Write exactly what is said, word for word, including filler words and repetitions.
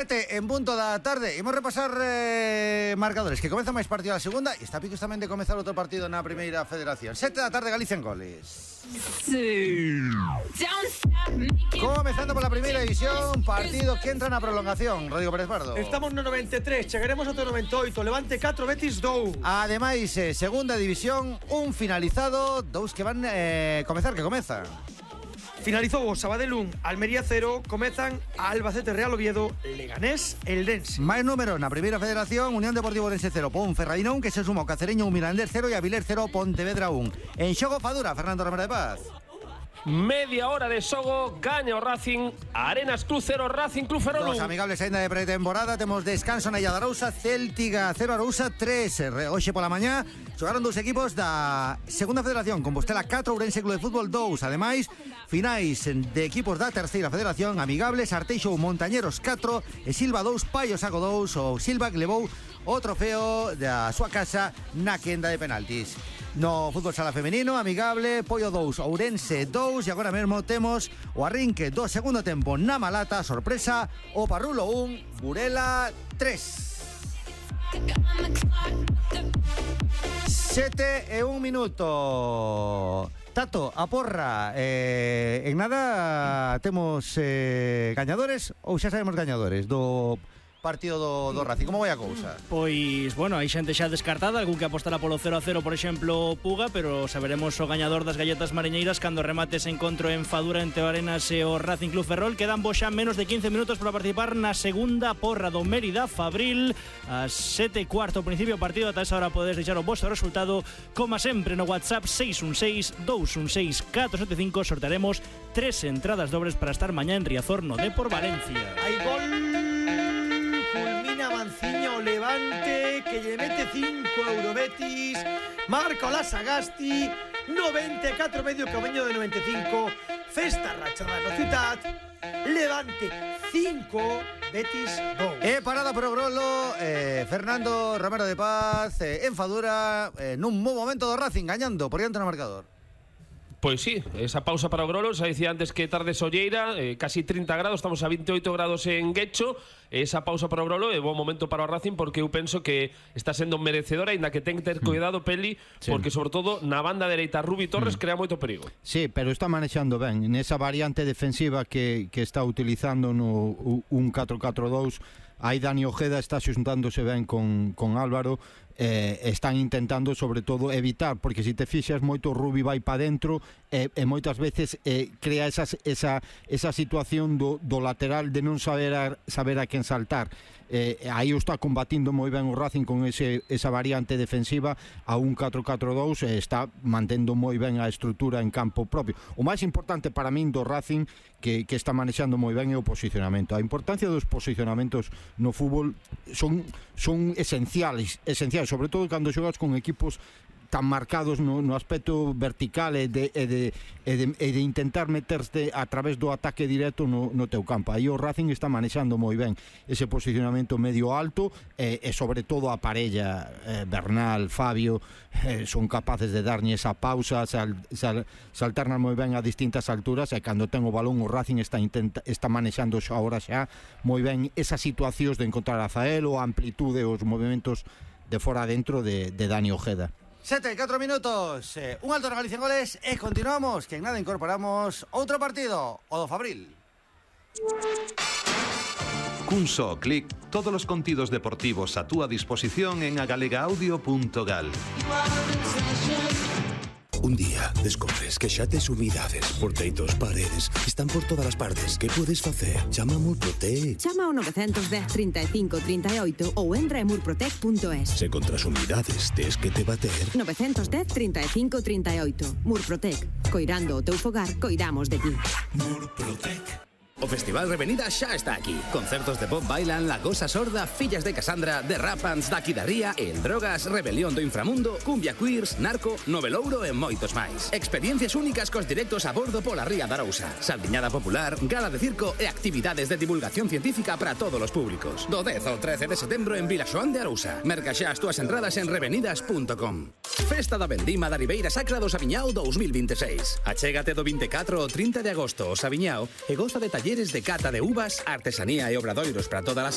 En punto da tarde imos repasar eh, marcadores, que comeza máis partido a segunda e está a picos tamén de comezar outro partido na primeira federación. Sete da tarde, Galicia en goles. Sí. Comezando pola primeira división, partido que entra na prolongación. Rodrigo Pérez Pardo. Estamos no noventa e tres, chegaremos ao noventa e oito. Levante catro, Betis dous. Ademais, eh, segunda división, un finalizado, dous que van eh, comezar, que comeza. Finalizou o Sabadell un, Almería cero, comezan a Albacete Real Oviedo, Leganés, Eldense. Máis número na primeira federación, Unión Deportivo Orense cero, Ponferradina un, que se suma o Cacereño un, Mirandés cero e Avilés cero, Pontevedra un. En xogo Fadura, Fernando Romero de Paz. Media hora de xogo, gaña o Racing, Arenas Club cero, Racing Club Ferrol. Dos amigables ainda de pretemporada, temos descanso na Illa de Arousa, Céltiga cero, Arousa tres. Hoxe pola mañá xogaron dous equipos da segunda federación, Compostela catro, Ourense Club de Fútbol dous. Ademais, finais de equipos da terceira federación, amigables, Arteixo Montañeros catro e Silva dous, Paio Saco dous. O Silva que levou o trofeo da súa casa na quenda de penaltis. No fútbol sala femenino, amigable, Pollo dous, Ourense dous. E agora mesmo temos o arrinque do segundo tempo na Malata, sorpresa, o Parrulo un, Burela tres. Sete e un minuto. Tato, a porra, eh, en nada temos eh, gañadores ou xa sabemos gañadores do partido do, do Racing? Como vai a cousa? Pois, bueno, hai xente xa descartada, algún que apostará polo cero a cero, por exemplo, Puga, pero saberemos o gañador das galletas mariñeiras cando remate ese encontro en Fadura entre o Arenas e o Racing Club Ferrol. Quedan vos xa menos de quince minutos para participar na segunda porra do Mérida Fabril. A sete e cuarto, principio partido, ata esa hora podedes deixar o vosso resultado, como sempre no WhatsApp seis un seis, dous un seis, catro sete cinco. Sortearemos tres entradas dobles para estar mañá en Riazor no Depor Valencia. Hai gol. Manciño Levante, que lle mete cinco euro Betis. Marca o Lasagasti, noventa e catro medio camiño de noventa e cinco. Festa rachada no Ciutat. Levante cinco, Betis dos. E parada por o Grolo, eh, Fernando Romero de Paz, eh, en Fadura, eh, nun bo momento do Racing, gañando por diante no marcador. Pois sí, esa pausa para o Grolo. Xa dicía antes que tarde solleira, eh, casi trinta grados, estamos a veintioito grados en Guecho. Esa pausa para o Grolo é bo momento para o Racing, porque eu penso que está sendo merecedora, ainda que ten que ter cuidado, Peli, sí, porque sobre todo na banda dereita Rubi Torres mm. crea moito perigo. Sí, pero está manexando ben nesa variante defensiva que, que está utilizando no un catro catro dous. Aí Dani Ojeda está xuntándose ben con, con Álvaro. Eh, están intentando sobre todo evitar, porque se te fixas moito Rubi vai para dentro e, e moitas veces eh, crea esas, esa, esa situación do, do lateral de non saber a, saber a quen saltar. Eh, aí o está combatindo moi ben o Racing con ese, esa variante defensiva a un catro catro dous, e está mantendo moi ben a estrutura en campo propio. O máis importante para min do Racing que, que está manexando moi ben é o posicionamento. A importancia dos posicionamentos no fútbol son, son esenciales, esenciales, sobre todo cando xogas con equipos tan marcados no, no aspecto vertical e de, e, de, e, de, e de intentar meterte a través do ataque directo no, no teu campo. Aí o Racing está manexando moi ben ese posicionamento medio alto e, e sobre todo a parella eh, Bernal, Fabio eh, son capaces de darlle esa pausa, sal, sal, saltarnas moi ben a distintas alturas, e cando ten o balón o Racing está, intenta, está manexando xa ahora xa moi ben esas situacións de encontrar a Zael ou a amplitude, os movimentos de fora dentro de, de Dani Ojeda. Sete, catro minutos, eh, un alto na Galicia en goles e continuamos, que en nada incorporamos outro partido, o do Fabril. Cun só clic, todos os contidos deportivos a túa disposición en agalegaudio punto gal. Un día descobres que xa tes umidades por teitos, paredes, están por todas as partes. Que podes facer? Chama a Murprotec. Chama ao nove un cero, trinta e cinco, trinta e oito ou entra en murprotec punto es. Se contra as umidades tes que te bater. nove un cero, trinta e cinco, trinta e oito. Murprotec. Coirando o teu fogar, coidamos de ti. Murprotec. O Festival Revenida xa está aquí. Concertos de Bob Bailan, La Gosa Sorda, Fillas de Casandra, The Rapans, Daqui da Ría, El Drogas, Rebelión do Inframundo, Cumbia Queers, Narco, Novelouro e moitos máis. Experiencias únicas cos directos a bordo pola Ría da Arousa. Saldiñada popular, gala de circo e actividades de divulgación científica para todos os públicos. Do dez ao trece de setembro en Vilaxoán de Arousa. Merca xa as túas entradas en revenidas punto com. Festa da Vendima da Ribeira Sacra do Sabiñao dous mil vinte e seis. Achégate do vinte e catro ao trinta de agosto ao Sabiñao e goza de taller talleres de cata de uvas, artesanía e obradoiros para todas as